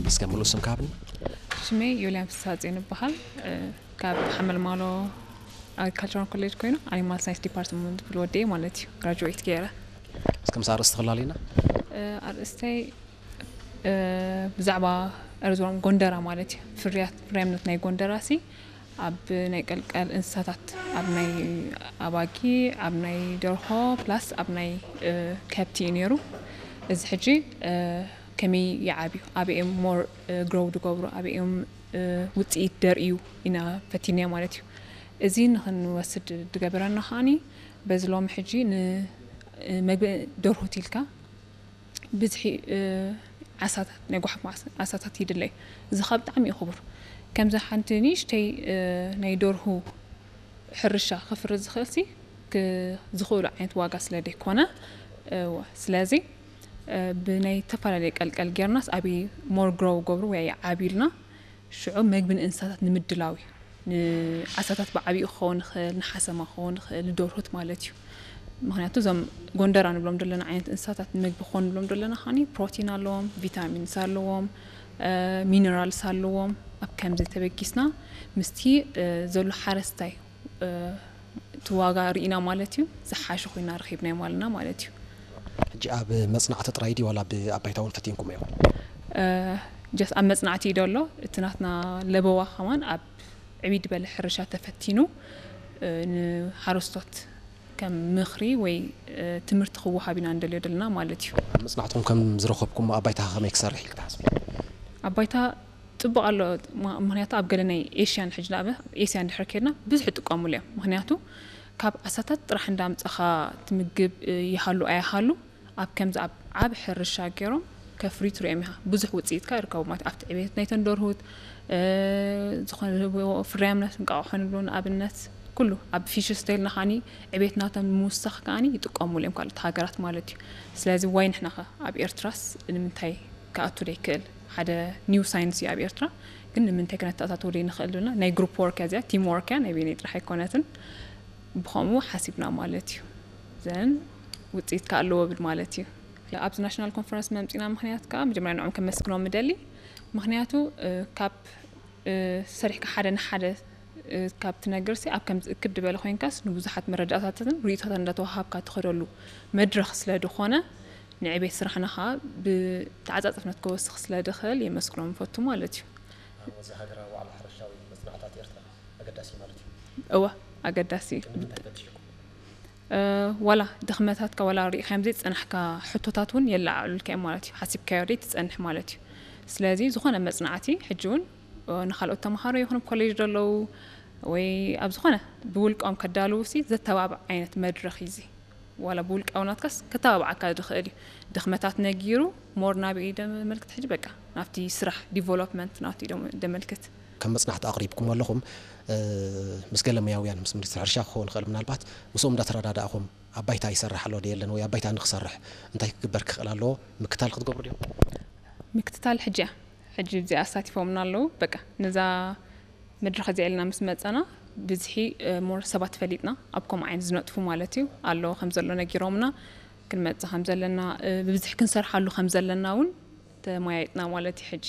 እስከ ሙሉእ ስምካ ሃብኒ። ሽመይ ዮልያን ፍስሃጽዮን ይበሃል። ካብ ሓመልማሎ ኣግሪካልቸራል ኮሌጅ ኮይኑ ኣኒማል ሳይንስ ዲፓርትመንት ክፍሊ ወደየ ማለት እዩ። ግራጁዌት ገይረ። እስከ ምስ ኣርእስቲ ክላልና። ኣርእስተይ ብዛዕባ ኣርዞም ጎንደራ ማለት እዩ። ፍርያት ፍርያምነት ናይ ጎንደራ ሲ ኣብ ናይ ቀልቀል እንስሳታት ኣብ ናይ ኣባጊ ኣብ ናይ ደርሆ ፕላስ ኣብ ናይ ከብቲ እዩ ነይሩ። እዚ ሕጂ ከመይ ይዓብዩ፣ ኣበይኦም ሞር ግሮው ዝገብሩ፣ ኣበይኦም ውፅኢት ደርእዩ ኢና ፈቲንያ ማለት እዩ። እዚ ንክንወስድ ዝገበረና ከዓኒ በዚ ሎሚ ሕጂ ንመግቢ ደርሁት ኢልካ ብዝሒ ዓሳታት ናይ ጓሓፍ ዓሳታት ይድለይ። እዚ ከዓ ብጣዕሚ እዩ ክቡር። ከምዚ ሓንቲ ንእሽተይ ናይ ደርሁ ሕርሻ ክፍሪ ዝኽእል ሲ ዝኽእሉ ዓይነት ዋጋ ስለ ደይኮነ፣ ስለዚ ብናይ ዝተፈላለየ ቀልቀል ጌርናስ ኣበይ ሞር ግሮው ገብሩ ወይ ዓብዩልና ሽዑ መግቢ ንእንስሳታት ንምድላው እዩ። ንዓሳታት ብዓብይኡ ክኸውን ይኽእል፣ ንሓሰማ ክኸውን ይኽእል፣ ንደርሁት ማለት እዩ። ምክንያቱ እዞም ጎንደራ ንብሎም ዘለና ዓይነት እንስሳታት ንምግቢ ክኾኑ ንብሎም ዘለና ከዓኒ ፕሮቲን ኣለዎም፣ ቪታሚንስ ኣለዎም፣ ሚነራልስ ኣለዎም። ኣብ ከምዚ ተበጊስና ምስቲ ዘሎ ሓረስታይ እቲ ዋጋ ርኢና ማለት እዩ ዝሓሸ ኮይና ረኺብናዮ ማለትና ማለት እዩ። ሕጂ ኣብ መፅናዕቲ ጥራይ ድዩ ዋላ ኣብ ኣባይታ እውን ፈቲንኩም እዮም? ጀስ ኣብ መፅናዕቲ እዩ ደሎ። እቲ ናትና ለበዋ ከማን ኣብ ዕብይ ዝበለ ሕርሻ ተፈቲኑ ንሓረስቶት ከም ምኽሪ ወይ ትምህርቲ ክወሃብ ኢና ንደልዮ ዘለና ማለት እዩ። ኣብ መፅናዕትኩም ከም ዝረኸብኩም ኣባይታ ከመይ ክሰርሕ ኢልክ ትሓስብ? ኣባይታ ፅቡቅ ኣሎ። ምክንያቱ ኣብ ገለ ናይ ኤሽያን ሕጂ ንኣብ ኤስያ እንድሕር ከድና ብዙሕ ይጥቀሙሉ እዮም። ምክንያቱ ካብ ዓሳታት ጥራሕ እንዳምፀኻ ትምግብ ይሃሉ ኣይሃሉ ኣብ ከምዚ ኣብ ዓብ ሕርሻ ገይሮም ከፍሪ ትሪኦም ኢኻ። ብዙሕ ውፅኢትካ ይርከቡ ማለት ኣብቲ ዕቤት ናይ ተንደርሁት ዝኾነ ፍርያምነት እንቃቑሖ ንብሎ ንኣብነት ኩሉ ኣብ ፊሽ ስቴል ናኻኒ ዕቤት ናቶም ንምውሳኽ ከዓኒ ይጥቀሙሉ እዮም ካልኦት ሃገራት ማለት እዩ። ስለዚ ዋይ ንሕናኸ ኣብ ኤርትራስ ንምንታይ ክኣቱ ዘይክእል ሓደ ኒው ሳይንስ እዩ ኣብ ኤርትራ። ግን ንምንታይ ክነተኣታተው ዘይንኽእል ዝብልና ናይ ግሩፕ ወርክ እያ እዚኣ፣ ቲም ወርክ እያ፣ ናይ በይነይ ጥራሕ ኣይኮነትን። ብኸምኡ ሓሲብና ማለት እዩ። ዘን ውፅኢት ከ ኣለዎ ብል ማለት እዩ። ኣብዚ ናሽናል ኮንፈረንስ መምፂና ምክንያት ከዓ መጀመርያ ንዕም ከመስግኖም ምደሊ። ምክንያቱ ካብ ሰሪሕካ ሓደ ንሓደ ካብ ትነግር ሲ ኣብ ከም ዝእክብ ዝበለ ኮይንካስ ንብዙሓት መረዳእታትን ርእይቶታት እንዳተዋሃብካ ትኸደሉ መድረኽ ስለ ዝኾነ ንዕቤት ስራሕና ከዓ ብተዓፃፅፍነት ክወስኽ ስለ ድኽእል የመስግኖም ፈቱ ማለት እዩ። እዚ ሃገራዊ ዋዕላ ሕርሻዊ መፅናዕታት ኤርትራ ኣገዳሲ ማለት እዩ። እወ ኣገዳሲ እዩ። ዋላ ድኽመታትካ ዋላ ሪኢኻዮም ዘይፀናሕካ ሕቶታት እውን የለዓዕሉልካ እዮም ማለት እዩ። ሓሲብካዮ ደይ ትፀንሕ ማለት እዩ። ስለዚ ዝኾነ መፅናዕቲ ሕጂ እውን ንካልኦት ተምሃሮ ይኹን ኮሌጅ ዘለዉ ወይ ኣብ ዝኾነ ብውልቃኦም ከዳልዉ ሲ ዘተባብዕ ዓይነት መድረኽ እዩ እዚ። ዋላ ብውልቃዊ ናትካስ ከተባብዓካ ዝኽእል እዩ። ድኽመታት ነጊሩ ሞር ናበይ እዩ ደመልክት ሕጂ በቃ ናብቲ ስራሕ ዲቨሎፕመንት ናብቲ እዩ ደመልክት። ከም መፅናዕቲ ኣቕሪብኩም ኣለኹም ምስ ገለ ሙያውያን ምስ ሚኒስትሪ ሕርሻ ክኸውን ይኽእል ምናልባት ምስኦም እንዳተረዳዳእኹም ኣብ ባይታ ይሰርሕ ኣሎ ዶ የለን ወይ ኣብ ባይታ ንክሰርሕ እንታይ ክግበር ክኽእል ኣለዎ ምክታል ክትገብሩ ዲኹም? ምክትታል ሕጂ እያ ሕጂ እዚኣ ኣሳቲፎምና ኣለዉ። በቃ ነዛ መድረኽ እዚኣ ኢልና ምስ መፀና ብዝሒ ሞር ሰባት ፈሊጥና ኣብ ከምኡ ዓይነት ዝነጥፉ ማለት እዩ ኣለዎ ከም ዘሎ ነጊሮምና ክንመፅእ ከም ዘለና ብብዝሒ ክንሰርሓሉ ከም ዘለና እውን ተመያይጥና ማለት እዩ ሕጂ።